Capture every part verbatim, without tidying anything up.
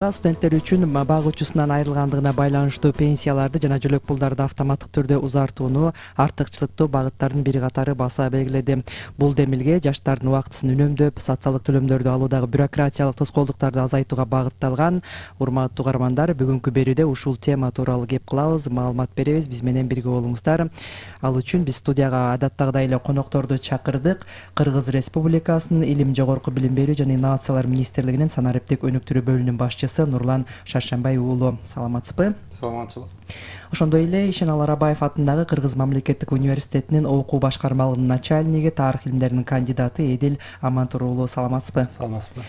Студенттер үчүн бак учусунан айрылгандыгына байланыштуу пенсияларды жана жөлөк пулдарды автоматтык түрдө узартууну артыкчылыктуу багыттардын бири катары баса белгиледи. Бул демилге жаштардын убактысын үнөмдөп, социалдык төлөмдөрдү алуудагы бюрократиялык тоскоолдуктарды азайтууга багытталган. Урматтуу угармандар, бүгүнкү берүүдө ушул тема тууралуу кеп кылабыз, маалымат беребиз. Биз менен бирге болуңуздар. Ал үчүн биз студияга адаттагыдай эле конокторду чакырдык. Кыргыз Республикасынын Илим, жогорку билим берүү жана инновациялар министрлигинин санариптик өнүктүрүү бөлүмүнүн башчысы Нурлан Шаршембай уулу. Саламатсызбы? Саламатчылык. Ошондой эле Ишенал Арабаев атындагы Кыргыз мамлекеттик университетинин окуу башкармалыгынын начальниги, тарых илимдеринин кандидаты Эдил Амантур уулу. Саламатсызбы? Саламатсызбы.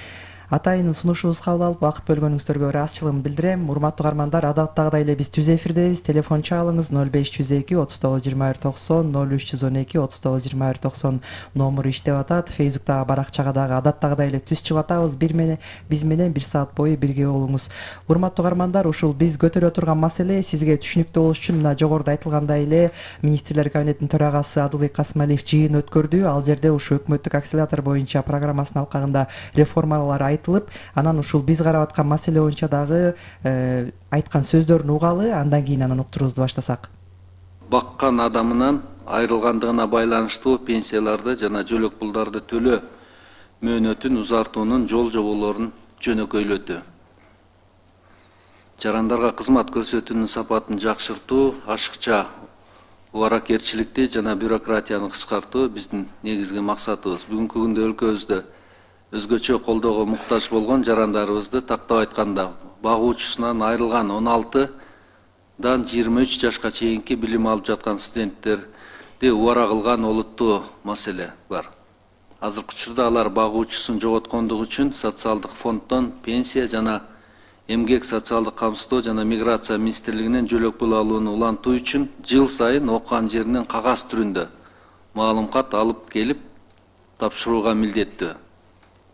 Атайын сунушубузга кабыл алып, вакыт бөлгөнүңүздөргө ыраазычылыгымды билдирем. Урматтуу угармандар, адаттагыдай эле биз түз эфирдебиз. Телефон чалыңыз ноль беш жүз эки отуз тогуз жыйырма бир токсон, ноль үч жүз он эки отуз тогуз жыйырма бир токсон номуру иштеп атат. Фейсбуктагы баракчага дагы адаттагыдай эле түз чыгып атабыз. Бир менен биз менен бир саат бою бирге болуңуз. Урматтуу угармандар, ушул биз көтөрө турган маселе сизге түшүнүктүү болуш үчүн мына жогоруда айтылгандай эле министрлер кабинетинин төрагасы Адылбек Касымалиев жыйын өткөрдү. Ал жерде ушу өкмөттүк акселератор боюнча программасынын алкагында реформалар айтылып, анан ушул биз карап аткан маселе боюнча дагы э, айткан сөздөрүн угалы, андан кийин анан уктуруубузду баштасак. Баккан адамынан айрылгандыгына байланыштуу пенсияларды жана жөлөк пулдарды төлөө мөөнөтүн узартуунун жол жоболорун жөнөкөйлөтүү. Жарандарга кызмат көрсөтүүнүн сапатын жакшыртуу, ашыкча убаракерчиликти жана бюрократияны кыскартуу биздин негизги максатыбыз. Бүгүнкү күндө өлкөбүздө өзгөчө колдоого муктаж болгон жарандарыбызды, тактап айтканда, багуучусунан айрылган он алтыдан жыйырма үч жашка чейинки билим алып жаткан студенттерди убара кылган олуттуу маселе бар. Азыркы учурда алар багуучусун жоготкондугу үчүн социалдык фонддон пенсия жана эмгек социалдык камсыздоо жана миграция министрлигинен жөлөк пул алууну улантуу үчүн жыл сайын окуган жеринен кагаз түрүндө маалымат алып келип тапшырууга милдеттүү.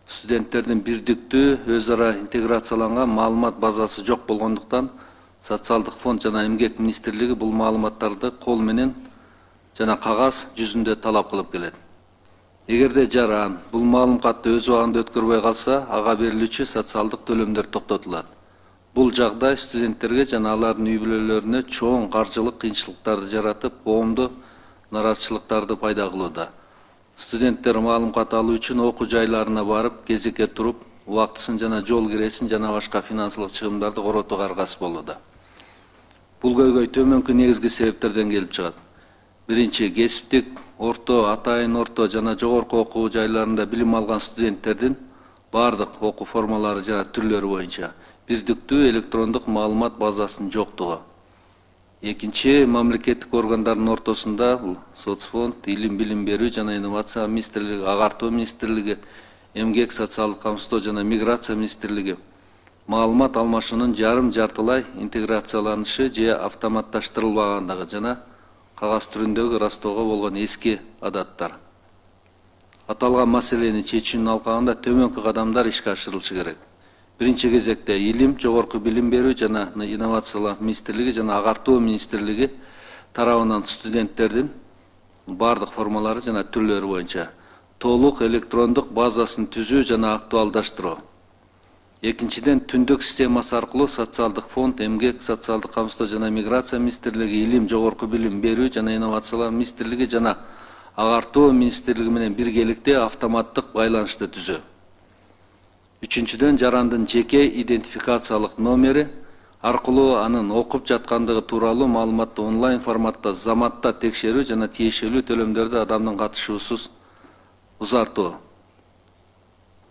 Студенттердин бирдиктүү, өз ара интеграцияланган маалымат базасы жок болгондуктан социалдык фонд жана эмгек министрлиги бул маалыматтарды кол менен жана кагаз жүзүндө талап кылып келет. Эгерде жаран бул маалыматты өз убагында өткөрбөй калса, ага берилүүчү социалдык төлөмдөр токтотулат. Бул жагдай студенттерге жана алардын үй бүлөлөрүнө чоң каржылык кыйынчылыктарды жаратып, коомдо нараазычылыктарды пайда кылууда. Студенттер маалымат алуу үчүн окуу жайларына барып, кезекке туруп, убактысын жана жол киресин жана башка финансылык чыгымдарды коротууга аргасыз болууда. Бул көйгөй төмөнкү негизги себептерден келип чыгат. Биринчи, кесиптик, орто, атайын орто жана жогорку окуу жайларында билим алган студенттердин бардык окуу формалары жана түрлөрү боюнча бирдиктүү электрондук маалымат базасынын жоктугу. Экинчи, мамлекеттик органдардын ортосунда соцфонд, илим билим берүү жана инновация министрлиги, агартуу министрлиги, эмгек социалдык камсыздоо жана миграция министрлиги маалымат алмашуунун жарым жартылай интеграцияланышы же автоматташтырылбагандыгы жана кагаз түрүндөгү ырастоого болгон эски адаттар. Аталган маселени чечүүнүн алкагында төмөнкү кадамдар ишке ашырылышы керек. Биринчи кезекте илим, жогорку билим берүү жана инновациялар министрлиги жана агартуу министрлиги тарабынан студенттердин бардык формалары жана түрлөрү боюнча толук электрондук базасын түзүү жана актуалдаштыруу. Экинчиден, түндүк системасы аркылуу социалдык фонд, эмгек социалдык камсыздоо жана миграция министрлиги, илим, жогорку билим берүү жана инновациялар министрлиги жана агартуу министрлиги менен биргеликте автоматтык байланышты түзүү. Үчүнчүдөн, жарандын жеке идентификациялык номери аркылуу анын окуп жаткандыгы тууралуу маалыматты онлайн форматта заматта текшерүү жана тиешелүү төлөмдөрдү адамдын катышуусуз узартуу.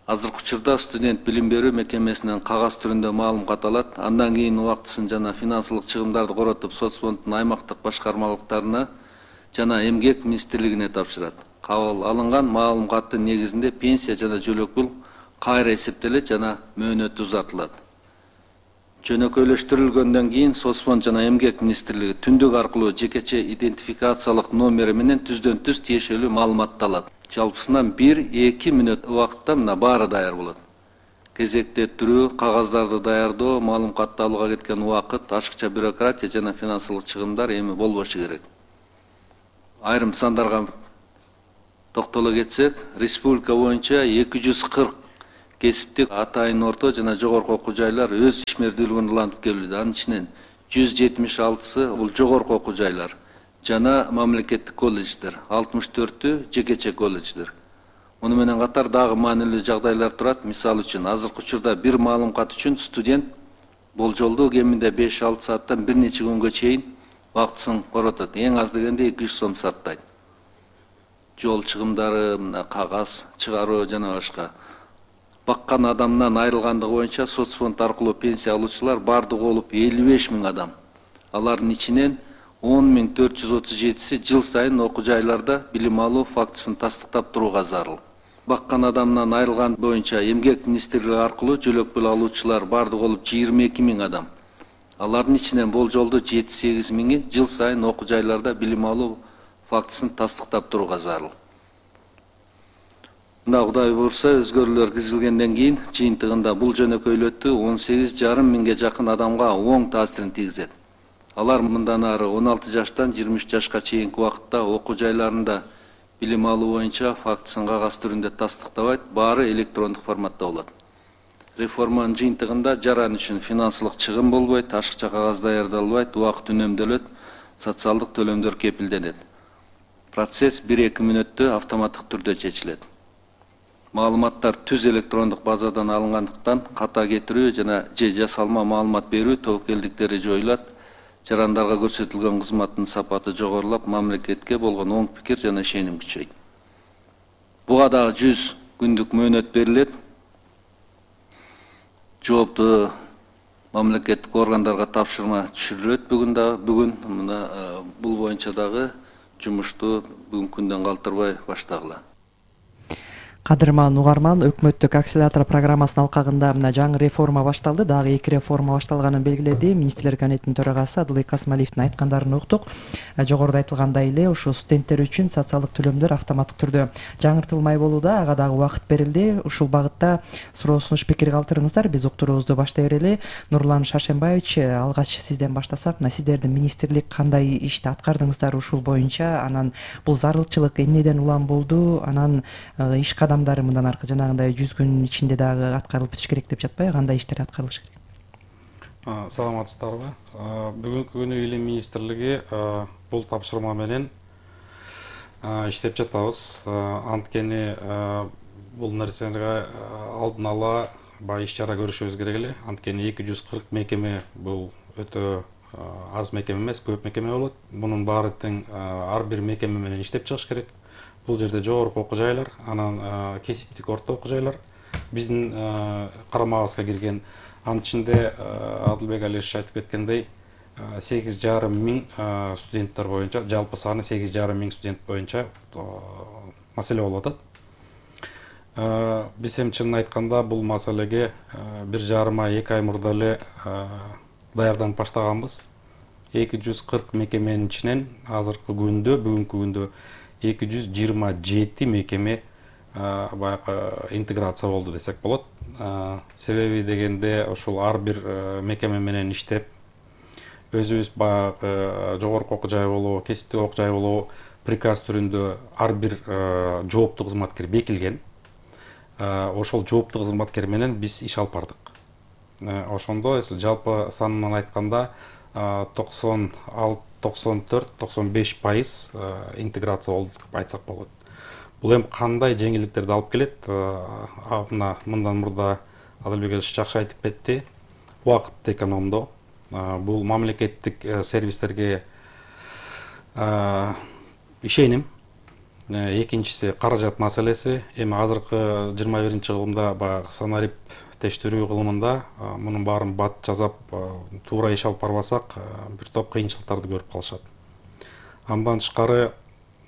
Азыркы учурда студент билим берүү мекемесинен кагаз түрүндө маалымат алат, андан кийин убактысын жана финансылык чыгымдарды коротуп соцфонддун аймактык башкармалыктарына жана эмгек министрлигине тапшырат. Кабыл алынган маалыматтын негизинде пенсия жана жөлөк пул кайра эсептелет жана мөөнөтү узартылат. Жөнөкөйлөштүрүлгөндөн кийин соцфонд жана эмгек министрлиги түндүк аркылуу жекече идентификациялык номери менен түздөн түз тиешелүү маалыматты алат. Жалпысынан бир-эки мүнөт убакытта мына баары даяр болот. Кезекте туруу, кагаздарды даярдоо, маалыматты алууга кеткен убакыт, ашыкча бюрократия жана финансылык чыгымдар эми болбошу керек. Айрым сандарга токтоло кетсек, республика боюнча эки жүз кырк кесиптик атайын орто жана жогорку окуу жайлар өз ишмердүүлүгүн улантып келүүдө. Анын ичинен жүз жетимиш алтысы бул жогорку окуу жайлар жана мамлекеттик колледждер, алтымыш төртү жекече колледждер. Муну менен катар дагы маанилүү жагдайлар турат. Мисалы үчүн азыркы учурда бир маалымат үчүн студент болжолдуу кеминде беш алты сааттан бир нече күнгө чейин убактысын коротот. Эң аз дегенде эки жүз сом сарптайт. Жол чыгымдары, кагаз чыгаруу жана башка. Баккан адамдан айрылгандыгы боюнча соцфонд аркылуу пенсия алуучулар бардыгы болуп элүү беш миң адам. Алардын ичинен он миң төрт жүз отуз жетиси жыл сайын окуу жайларда билим алуу фактысын тастыктап турууга зарыл. Баккан адамдан айрылган боюнча эмгек министрлиги аркылуу жөлөк пул алуучулар бардыгы болуп жыйырма эки миң адам. Алардын ичинен болжолдуу жети сегиз миңи жыл сайын окуу жайларда билим алуу фактысын тастыктап турууга зарыл. Мына Кудай буйрса өзгөрүүлөр киргизилгенден кийин жыйынтыгында бул жөнөкөйлөтүү он сегиз жарым миңге жакын адамга оң таасирин тийгизет. Алар мындан ары он алты жаштан жыйырма үч жашка чейинки убакытта окуу жайларында билим алуу боюнча фактысын кагаз түрүндө тастыктабайт, баары электрондук форматта болот. Реформанын жыйынтыгында жаран үчүн финансылык чыгым болбойт, ашыкча кагаз даярдалбайт, убакыт үнөмдөлөт, социалдык төлөмдөр кепилденет. Процесс бир эки мүнөттө автоматтык түрдө чечилет. Маалыматтар түз электрондук базадан алынгандыктан ката кетирүү жана же жасалма маалымат берүү тобокелдиктери жоюлат. Жарандарга көрсөтүлгөн кызматтын сапаты жогорулап, мамлекетке болгон оң пикир жана ишеним күчөйт. Буга дагы жүз күндүк мөөнөт берилет. Жооптуу мамлекеттик органдарга тапшырма түшүрүлөт бүгүн дагы бүгүн мына бул боюнча дагы жумушту бүгүнкү күндөн калтырбай баштагыла. Кадырман угарман, өкмөттүк акселератор программасынын алкагында мына жаңы реформа башталды, дагы эки реформа башталганын белгиледи. Министрлер кабинетинин төрагасы Адылбек Касымалиевдин айткандарын уктук. Жогоруда айтылгандай эле ушу студенттер үчүн социалдык төлөмдөр автоматтык түрдө жаңыртылмай болууда, ага дагы убакыт берилди. Ушул багытта суроо сунуш пикир калтырыңыздар. Биз уктуруубузду баштай берели. Нурлан Шашенбаевич, алгач сизден баштасак, мына сиздердин министрлик кандай ишти аткардыңыздар ушул боюнча, анан бул зарылчылык эмнеден улам болду, анан иш кадам мындан аркы жанагындай жүз күн ичинде дагы аткарылып бүтүш керек деп жатпайбы? Кандай иштер аткарылыш керек? Саламатсыздарбы? Бүгүнкү күнү Илим министрлиги бул тапшырма менен иштеп жатабыз. Анткени бул нерсеге алдын ала баягы иш чара көрүшүбүз керек эле. Анткени эки жүз кырк мекеме бул өтө аз мекеме эмес, көп мекеме болот. Мунун баары тең ар бир мекеме менен иштеп чыгыш керек. Бул жерде жогорку окуу жайлар, анан кесиптик орто окуу жайлар биздин карамагыбызга кирген. Анын ичинде Адылбек Алиевич айтып кеткендей сегиз жарым миң студенттер боюнча, жалпы саны сегиз жарым миң студент боюнча маселе болуп атат. Биз эми чынын айтканда бул маселеге бир жарым ай, эки ай мурда эле даярданып баштаганбыз. эки жүз кырк мекеменин ичинен азыркы күндө, бүгүнкү күндө эки жүз жыйырма жети мекеме баягы интеграция болду десек болот. Себеби дегенде ушул ар бир мекеме менен иштеп, өзүбүз баягы жогорку окуу жай болобу, кесиптик окуу жай болобу приказ түрүндө ар бир жооптуу кызматкер бекилген. Ошол жооптуу кызматкер менен биз иш алып бардык. Ошондо жалпы санынан айтканда токсон алты токсон төрт токсон беш пайыз интеграция болду деп айтсак болот. Бул эми кандай жеңилдиктерди алып келет? Мына мындан мурда Адылбек Алиевич жакшы айтып кетти. Убакытты экономдоо. Бул мамлекеттик сервистерге ишеним. Экинчиси каражат маселеси. Эми азыркы жыйырма биринчи кылымда баягы санарип тештирүү кылымында мунун баарын бат жазап туура иш алып барбасак бир топ кыйынчылыктарды көрүп калышат. Андан тышкары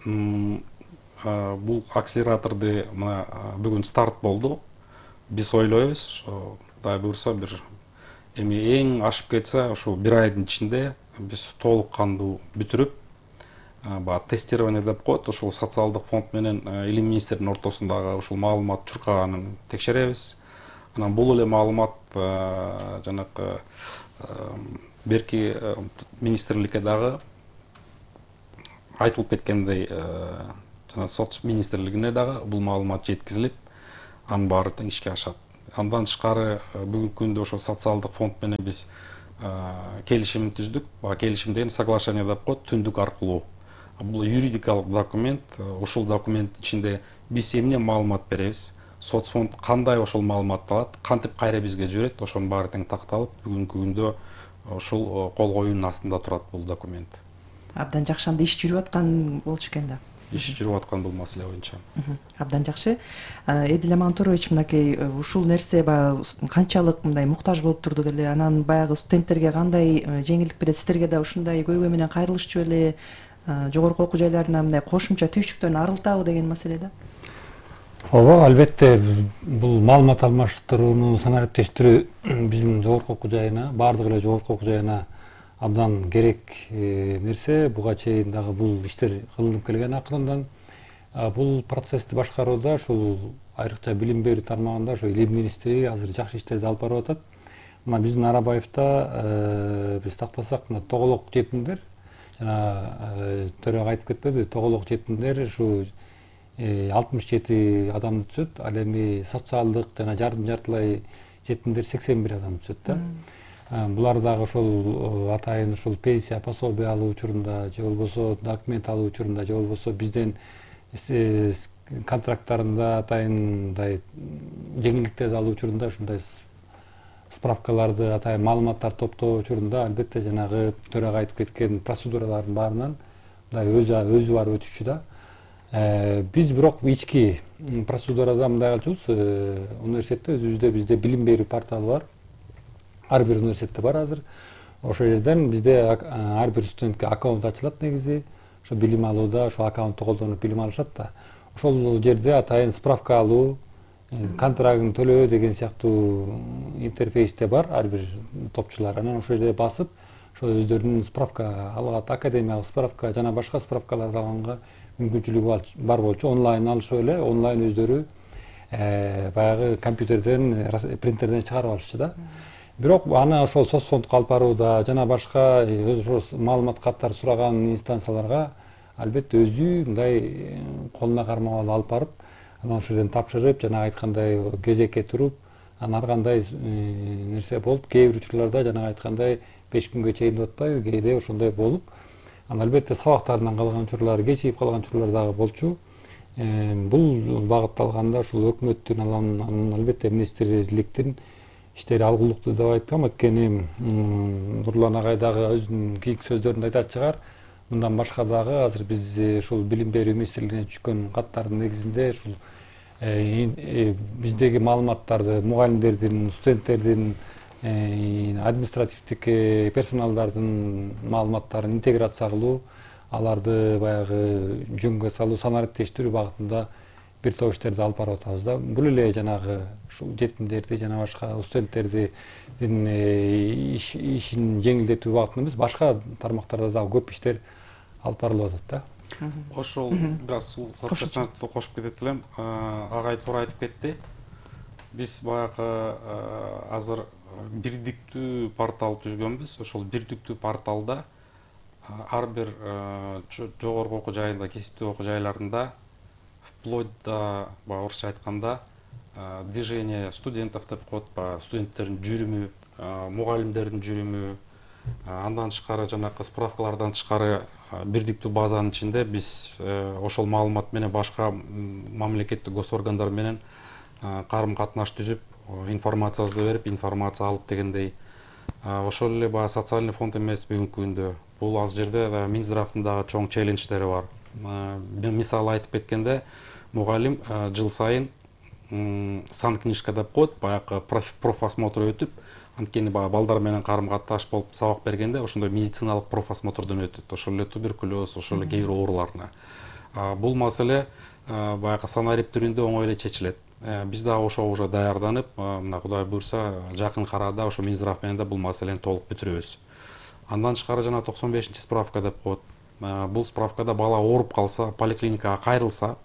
бул акселераторду мына бүгүн старт болду. Биз ойлойбуз, Кудай буйрса бир эми эң ашып кетсе ушул бир айдын ичинде биз толук кандуу бүтүрүп, баягы тестирование деп коет, ушул социалдык фонд менен Илим министринин ортосундагы ушул маалымат чуркаганын текшеребиз. Анан бул эле маалымат жанакы берки министрликке дагы айтылып кеткендей жана соц министрлигине дагы бул маалымат жеткизилип, анын баары тең ишке ашат. Андан тышкары бүгүнкү күндө ошо социалдык фонд менен биз келишим түздүк. Баягы келишим деген соглашение деп коет, түндүк аркылуу. Бул юридикалык документ. Ушул документ ичинде биз эмне маалымат беребиз, соцфонд кандай ошол маалыматты алат, кантип кайра бизге жиберет, ошонун баары тең такталып, бүгүнкү күндө ушул кол коюунун астында турат бул документ. Абдан жакшы, анда иш жүрүп аткан болчу экен да. Иш жүрүп аткан бул маселе боюнча. Абдан жакшы. Эдил Амантурович, мынакей ушул нерсе баягы канчалык мындай муктаж болуп турду беле? Анан баягы студенттерге кандай жеңилдик берет? Сиздерге да ушундай көйгөй менен кайрылышчу беле? Жогорку окуу жайларына мындай кошумча түйшүктөн арылтабы деген маселе да. Ооба, албетте бул маалымат алмаштырууну санариптештирүү биздин жогорку окуу жайына, баардык эле жогорку окуу жайына абдан керек нерсе. Буга чейин дагы бул иштер кылынып келген акырындан. Бул процессти башкарууда ушул айрыкча билим берүү тармагында ошо илим министри азыр жакшы иштерди алып барып атат. Мына биздин Арабаевда биз тактасак, мына тоголок жетимдер, жана төрага айтып кетпеди, тоголок жетимдер ушу алтымыш жети адам түзөт. Ал эми социалдык жана жардым жартылай жетимдер сексен бир адам түзөт да. Булар дагы ушул атайын ушул пенсия, пособие алуу учурунда, же болбосо документ алуу учурунда, же болбосо бизден контракттарында атайындай жеңилдиктерди алуу учурунда ушундай справкаларды, атайын маалыматтарды топтоо учурунда албетте жанагы төрага айтып кеткен процедуралардын баарынан мындай өзү өзү барып өтүшчү да. Биз бирок ички процедурада мындай кылчубуз. Университетте өзүбүздө бизде билим берүү порталы бар. Ар бир университетте бар азыр. Ошол жерден бизде ар бир студентке аккаунт ачылат негизи. Ошо билим алууда ошол аккаунтту колдонуп билим алышат да. Ошол жерде атайын справка алуу, контрагын төлөө деген сыяктуу интерфейсте бар ар бир топчулар. Анан ошол жерде басып, ошо өздөрүнүн справка алгат, академиялык справка жана башка справкаларды алганга мүмкүнчүлүгү бар болчу. Онлайн алышып эле, онлайн өздөрү баягы компьютерден, принтерден чыгарып алышчу да. Бирок аны ошол соцфондко алып барууда жана башка ошол маалымат каттар сураган инстанцияларга албетте өзү мындай колуна кармап алып барып, анан ошол жерден тапшырып, жана айткандай кезекке туруп, анан ар кандай нерсе болуп, кээ бир учурларда жана айткандай беш күнгө чейин деп атпайбы, кээде ошондой болуп, анан албетте сабактарынан калган учурлар, кечигип калган учурлар дагы болчу. Бул багытталганда ушул өкмөттүн, анан албетте министрликтин иштери алгылыктуу деп айткам. Анткени Нурлан агай дагы өзүнүн кийинки сөздөрүндө айтат чыгар. Мындан башка дагы азыр биз ушул билим берүү министрлигине түшкөн каттардын негизинде ушул биздеги маалыматтарды мугалимдердин, студенттердин, административдик персоналдардын маалыматтарын интеграция кылуу, аларды баягы жөнгө салуу, санариптештирүү багытында бир топ иштерди алып барып атабыз да. Бул эле жанагы ушул жетимдерди жана башка студенттердин ишин жеңилдетүү багытында эмес, башка тармактарда дагы көп иштер алып барылып атат да. Ошол бир аз соцсоцсантты кошуп кетет элем. Агай туура айтып кетти. Биз баягы азыр бирдиктүү портал түзгөнбүз. Ошол бирдиктүү порталда ар бир жогорку окуу жайында, кесиптүү окуу жайларында вплоть до, баягы орусча айтканда, движение студентов деп коет, баягы студенттердин жүрүмү, мугалимдердин жүрүмү, андан тышкары жанакы справкалардан тышкары бирдиктүү базанын ичинде биз ошол маалымат менен башка мамлекеттик госоргандар менен карым катнаш түзүп, информациябызды берип, информация алып дегендей. Ошол эле баягы социальный фонд эмес бүгүнкү күндө. Бул аз жерде Минздравдын дагы чоң челлендждери бар. Мисалы айтып кеткенде, мугалим жыл сайын санкнижка деп коет, баягы профосмотр өтүп, анткени баягы балдар менен карым катнаш болуп сабак бергенде ошондой медициналык профосмотрдон өтөт. Ошол эле туберкулез, ошол эле кээ бир ооруларына. Бул маселе баягы санарип түрүндө оңой эле чечилет. Биз дагы ошого уже даярданып, мына Кудай буйрса, жакын арада ошо Минздрав менен да бул маселени толук бүтүрөбүз. Андан тышкары жана токсон бешинчи справка деп коет. Бул справкада бала ооруп калса, поликлиникага кайрылса,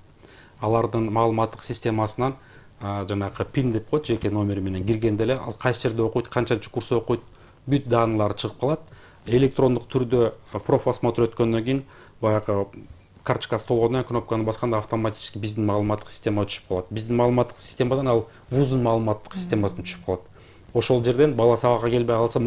алардын маалыматтык системасынан жанагы пин деп коет, жеке номери менен киргенде эле ал кайсы жерде окуйт, канчанчы курс окуйт, бүт данылары чыгып калат. Электрондук түрдө профосмотр өткөндөн кийин баягы карточкасы толгондон кийин кнопканы басканда автоматически биздин маалыматтык системага түшүп калат. Биздин маалыматтык системадан ал вуздун маалыматтык системасына түшүп калат. Ошол жерден бала сабакка келбей калса